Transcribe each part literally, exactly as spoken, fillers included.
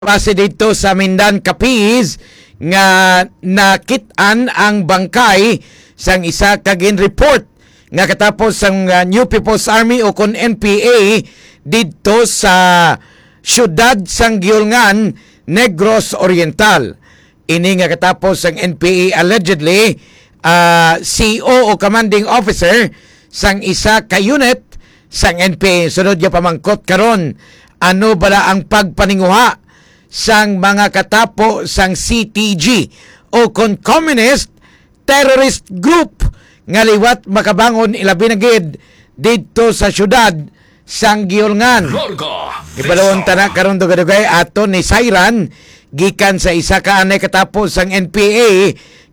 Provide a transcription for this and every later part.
base didto sa Mindan, Capiz, nga nakit-an ang bangkay sang isa ka gin-report nga katapos sang, ah, New People's Army o kon N P A didto sa siyudad sang Guiolngan, Negros Oriental. Ini nga katapos sang N P A allegedly, ah, C O o commanding officer sang isa ka unit sang N P A. Sunod nga pamangkot karon, ano bala ang pagpaninguha sang mga katapo sang C T G o kon communist terrorist group nga liwat makabangon, ilabi na gid didto sa siyudad sang Guiolngan. Larga Ibalon Vista. Tana karon, dugay-dugay aton ni Sayran gikan sa isa ka anay katapo sang N P A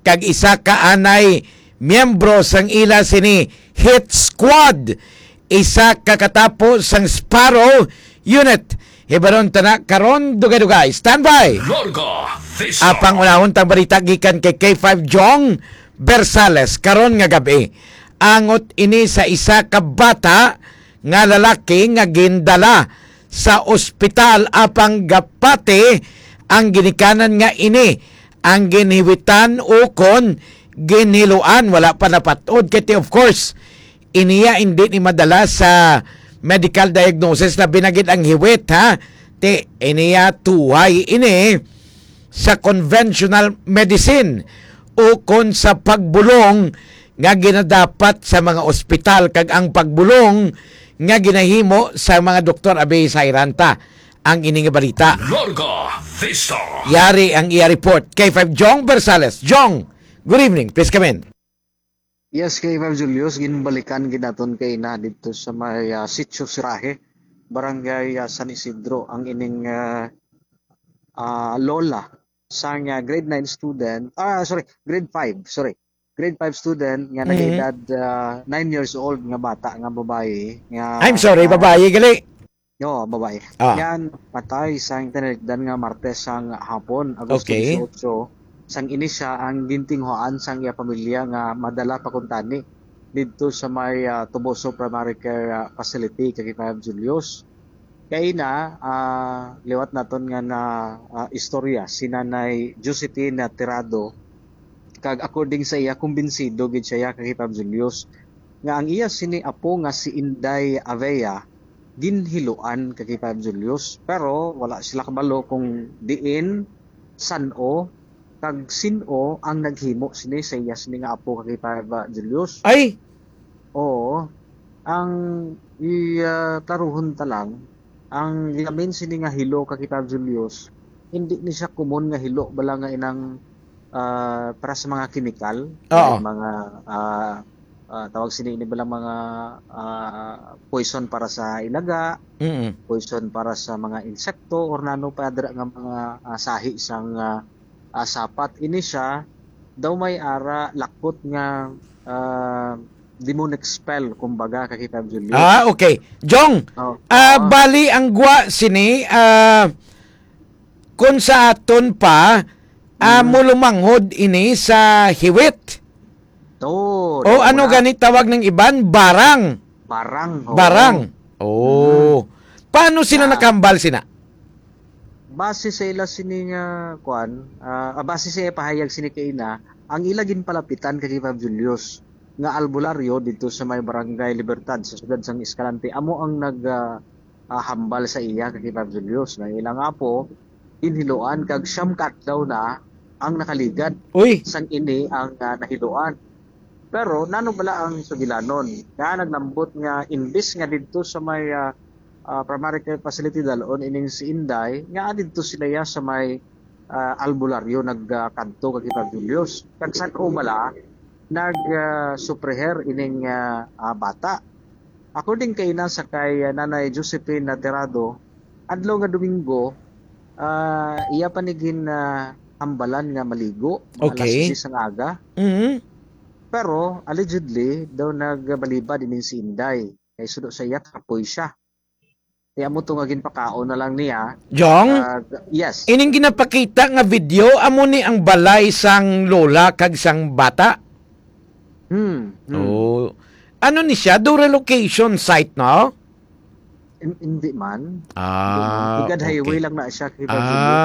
kag isa ka anay miyembro sang ila sini hit squad, isa ka katapo sang Sparrow Unit. Hibaron tana karon, dugay-dugay. Standby! Larga Vista. Apang unahon tang balita gikan kay K five Jong Bersales karon nga gab-i. Angot ini sa isa ka bata nga lalaki nga gindala sa ospital, apang gapati ang ginikanan nga ini ang ginhiwitan ukon ginhiluan. Wala pa napat-od kay ti, of course, iniya hindi ni madala sa medical diagnosis, labi na gid ang hiwit, ha? Ti, iniya tuhay ini sa conventional medicine ukon sa pagbulong nga ginadapat sa mga ospital, kag ang pagbulong nga ginahimo sa mga doktor. Abi, Sayran ta ang ini nga balita. Larga Vista. Yari ang iya report. K five Jong Bersales. Jong, good evening. Please come in. Yes, K five Julius, ginbalikan gid naton kay na dito sa may, ah, Sitio Siraje, Barangay, ah, San Isidro, ang ining, ah, ah, lola sang, ah, grade nine student, ah, sorry, grade five, sorry. Grade five student nga Mm. nag-edad, ah, nine years old nga bata nga babayi nga, I'm sorry, ah, babayi gali. Oo, babayi. Ah. Nga patay sang tinalikdan nga Martes sang hapon, Agosto Okay. dieciocho, sang ini siya ang gintinguhaan sang iya pamilya nga madala pa kuntani didto sa may, ah, Toboso Primary Care, ah, Facility, K five Julius. Kay na, ah, liwat naton nga na, ah, istorya si Nanay Josephine Tirado, kag according sa iya, kumbinsido gid siya, K five Julius, nga ang iya sini apo nga si Inday Avea ginhiluan, K five Julius, pero wala sila kabalo kung diin, san-o, kag sin-o ang naghimo sini sa iya sini nga apo, K five Julius. Ay! Oo. Ang i, ah, klaruhon ta lang, ang lamin sini nga hilo, K five Julius, hindi ni siya common nga hilo bala nga inang, ah, para sa mga kemikal, Oo. mga, ah, ah, tawag sini ini bala mga, ah, poison para sa ilaga, Mm. poison para sa mga insekto, or nano pa dira nga mga, ah, sahi sang, ah, ah, sapat. Ini siya daw may ara lakot nga, ah, demonic spell, kumbaga, K five Julius. Ah, okay. Jong, Oh, ah, ah. bali ang gwa sini, ah, kung sa aton pa, ah, Mm. mulumanghod ini sa hiwit. To, O ano wala. gani tawag ng iban? Barang. Barang, oo. Barang. Oh. Mm. Paano sila Ah. nakambal sina? Base sa ila sini nga, kuan, ah, ah, base sa iya pahayag sini kay ina, ang ila ginpalapitan kay K five Julius nga albularyo dito sa may Barangay Libertad sa siyudad sang Escalante, amo ang nag, ah, ah, hambal sa iya, kay K five Julius, nga ilang apo ginhiluan kag siyam ka adlaw na ang nakaligad Uy. sang ini ang, ah, nahiluan. Pero nano bala ang sugilanon? Nga naglambot nga imbis nga didto sa may, ah, ah, primary care facility dalon ining si Inday, nga didto sila ya sa may, ah, albularyo nagkadto kag Iba Julius. Kag san-o bala nag, ah, supreher ining, ah, ah, bata? According kay ina sa kay, ah, Nanay Josephine Naterado, adlaw nga Domingo, ah, iya pa ni gin, ah, hambalan nga maligo, mga alas Okay. diyes ang aga. Mhm. Pero, allegedly, daw nagbalibad ining si Inday. Kay sudo sa iya, kapoy siya. Kaya mo to nga ginpakaon na lang niya. Jong? Ah, g-, yes. Ining ginapakita nga video, amo ni ang balay sang lola kag sang bata? Hmm, hmm. Oh. Ano ni siya? Do relocation site, no? Hin-, hindi man. Ah, Higad highway okay. lang na siya. Higad Ah, highway.